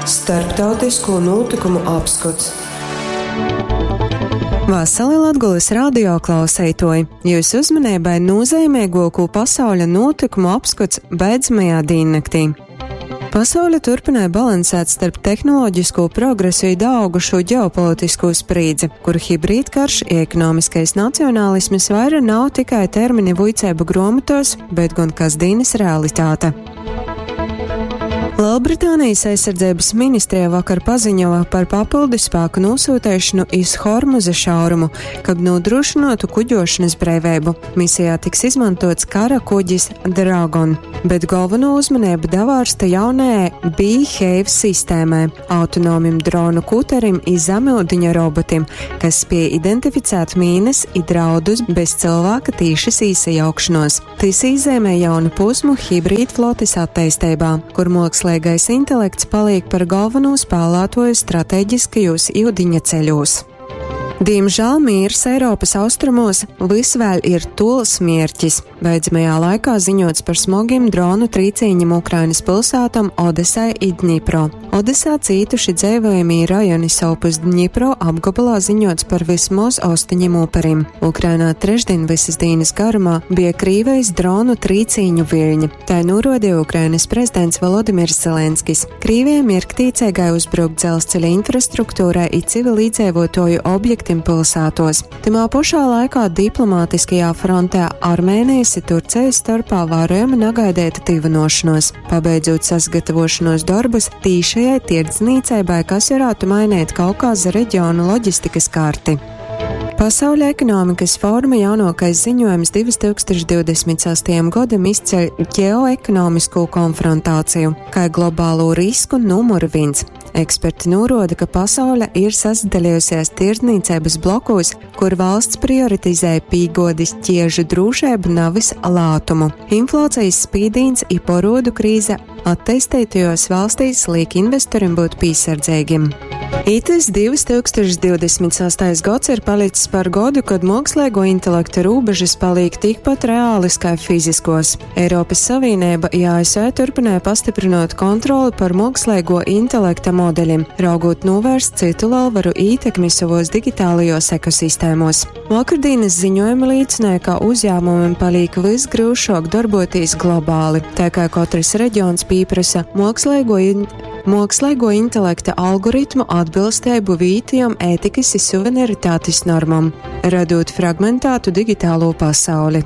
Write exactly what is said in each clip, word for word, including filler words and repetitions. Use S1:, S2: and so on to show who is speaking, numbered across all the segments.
S1: Starptautisko notikumu apskots.
S2: Vasali Latgulas radio klauseitoji! Jūsu uzmanībai nozīmīgāko pasauļa notikumu apskats beidzamajā dīnnaktī. Pasaule turpināja balansēt starp tehnoloģisko progresu i daaugušo ģeopolitisko sprīdzi, kur hibrīdkarš i ekonomiskais nacionālisms vaira nav tikai termini vuiceibu gruomotuos, bet gon kasdīnys realitāte. Lielbritānijas aizsardzības ministrija vakar paziņoja par papildu spēku nosūteišanu iz Hormuza šaurumu, kab nodrošinātu kuģošanas breiveibu. Misijā tiks izmantots kara kuģis Dragon, bet galveno uzmanību davārsta jaunajai Behave sistēmai, autonomim dronu kuterim i zemiudiņa robotim, kas spēj identificēt mīnas i draudus bez cilvēka tīšas īsajaukšanos. Tys īzeimē jaunu posmu hibrīdflotis atteisteibā, kur muokslīgais intelekts paliek par galveno spēlētoju strateģiskajos iudiņa ceļos. Diemžēl mīrs Eiropas austrumos vys vēļ ir tuols mierķis. Beidzamajā laikā ziņots par smogim dronu trīcīņiem Ukrainas pilsētom Odesai i Dņipro. Odesā cītuši dzeivojamī rajoni, sovpus Dņipro apgabalā ziņots par vismoz ostoņiem uperim. Ukrainā trešdien visas dīnas garumā bija Krīvejis dronu trīcīņu viļņi. Tai nūrodīja Ukrainas prezidents Volodimirs Zelenskis. Krīvija mierktīceigai uzbrukt dzelzceļa infrastruktūrai i civilīdzeivotoju objektim pilsētos. Tymā pošā laikā diplomātiskajā frontē Armēnijas i Turcijas storpā vārojama nagaideita tyvynuošonuos, pabeidzūt sasagatavošanos dorbus tīšajai tierdznīceibai, kas varētu mainīt Kaukāza reģionu loģistikas karti. Pasauļa ekonomikas foruma jaunākais ziņojums divtūkstoš divdesmit sastajam godam izceļ ģeoekonomisko konfrontāciju kā globālo risku numuru viens. Eksperti noroda, ka pasaule ir sasadalījusies tirdzniecības blokos, kur valsts prioritizē pīgodis ķiežu drūšību, navis lātumu. Inflācijas spīdīns i porodu krīze attīstītajos valstīs liek investorim būt piesardzīgiem. Itys divtūkstoš divdesmit sastais gads ir palicis par godu, kad mākslīgo intelekta robežas paliek tikpat reālis kā fiziskos. Eiropas Savienība i A S V turpināja pastiprinot kontroli par mākslīgo intelekta modeļiem, raugot novērst citu lielvaru ītekmi savos digitālajos ekosistēmos. Vakardienas ziņojumi liecināja, ka uzņēmumiem paliek visgrūšāk darboties globāli, tā kā katrs reģions pieprasa mākslīgo in mākslīgo intelekta algoritmu atbilstību vītijam ētikas i suverenitātes normam, radot fragmentētu digitālo pasauli.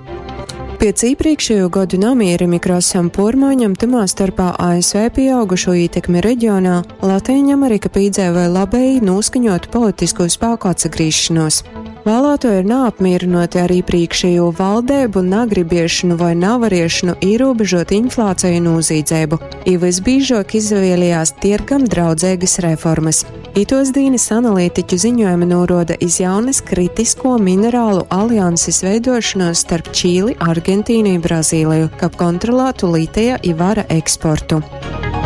S2: Pēc iepriekšējo gadu namierim i krasam pormaiņam, tymā starpā A S V pieaugušo ietekmi reģionā, Latīņamerika pīdzēvoja labēji noskaņotu politisko spēku atsagrīšanos. Vēlētoji ir neapmierināti ar iepriekšējo valdību nagribiešanu vai navariešanu ierobežot inflāciju un nozīdzību, i visbiežāk izvēlējās tirgam draudzīgas reformas. Itos dīnas analītiķu ziņojumi noroda iz jaunas kritisko minerālu alianses veidošanos starp Čīli, Argentīnu i Brazīliju, kab kontrolētu litija i vara eksportu.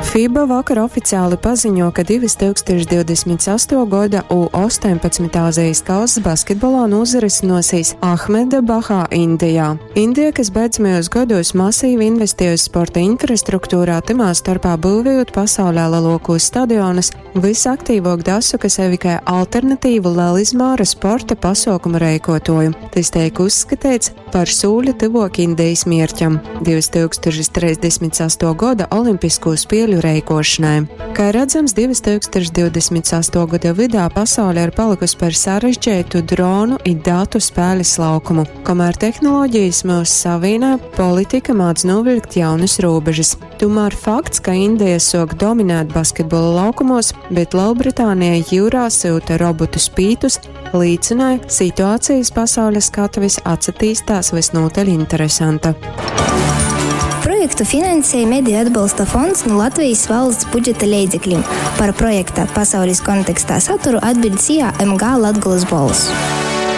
S2: FIBA vakar oficiāli paziņo, ka divtūkstoš divdesmit astotuo gada U astoņpadsmit Āzijas kausa basketbolā norisināsies Ahmedabahā, Indijā. Indija, kas beidzamajos gados masīvi investējusi sporta infrastruktūrā, tymā starpā būvējot pasaulē lielākos stadionus, visaktīvāk dasoka sevi kā alternatīvu lielizmēra sporta pasaukumu reikotoju. Tas tiek uzskatīts par sūli tuvāk Indijas mierķam divtūkstoš trīsdesmit astotuo gada Olimpisko spēļu reikošanai. Kā redzams, divtūkstoš divdesmit astotuo gada vidā pasaule ir palikusi par sarežģītu dronu i datu spēles laukumu. Kamēr tehnoloģijas mūs savienē, politika māc novilkt jaunas robežas. Tomēr fakts, ka Indija sok dominēt basketbola laukumos, bet Lielbritānija jūrā sūta robotu spītus, liecināja, situācijas pasaules skatuves atsatīstās visnotaļ interesanta.
S3: Projektu finansēja Mediju atbalsta fonds nu Latvijas valsts budžeta leidzeklim. Par projekta Pasaules kontekstā saturu atbild S I A M G Latgolas Bolss.